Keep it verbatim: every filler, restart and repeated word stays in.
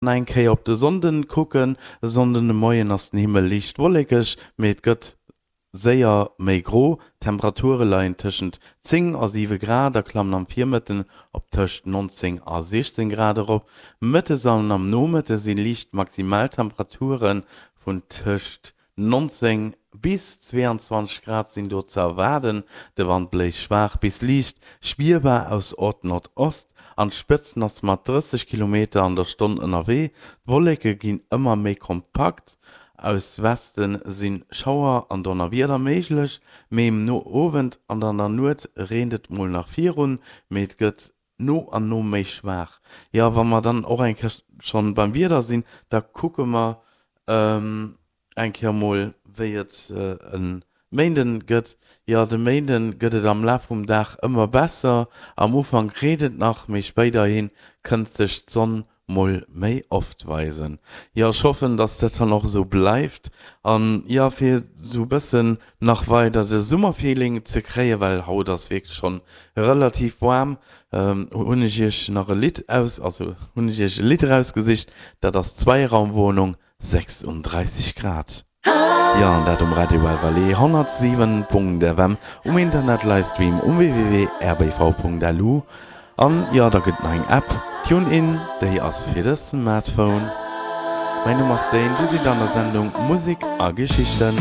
Eng Kéier op de Sonnden kucken, E Sonnden de Moien ass den Himmel liicht wollekeg, mee et gëtt séier méi gro. D'Temperature leien tëschent zéng a siwe Grad a klammen am Virmëtten op tëscht nonzéng a siechzéng Grad erop. Mëttes an am Nomëtte si liicht Maximaltemperature vun tëscht nonzéng bis zweeanzwanzeg Grad sinn do ze erwaarden. De Wand bléist schwaach bis liicht spierbar aus Ord-Nordost. An d'Spëtzen ass mat drësseg Kilometer an der Stonn ënnerwee. D'Wolleke ginn ëmmer méi kompakt, aus Weste si Schauer an Donnerwieder méiglech, méi um Owend an an der Nuet reent et mol nach virun, mee et gëtt no an no méi schwaach. Jo, wa mer dann och eng Kéier schonn beim Wieder sinn, da kucke mer eng Kéier mol, wéi et e Méinden gëtt. Jo, de Méinden gëtt et am Laf vum Dag ëmmer besser. Am Ufank reent et nach, mee spéiderhi kënnt sech d'Sonn mol méi oft weisen. Jo, ech hoffen, dass dat dann och esou bleift. An jo, fir esou e bëssen nach weider de Summerfeeling ze kréien, well haut ass wierklech schonn relativ waarm, hunn ech iech nach e Lidd aus, also hunn ech iech e Lidd erausgesicht, dat ass Zweiraumwohnung, sechsunddreißig Grad. Jo, an dat um Radio Belle Vallée honnertsiwen Punkt F M, um Internet-Livestream um w w w punkt r b v punkt l u. An jo, da gëtt et nach eng App, TuneIn, déi ass fir de Smartphone. Mäin Numm ass Dane, dir sidd an der Sendung Musek a Geschichten.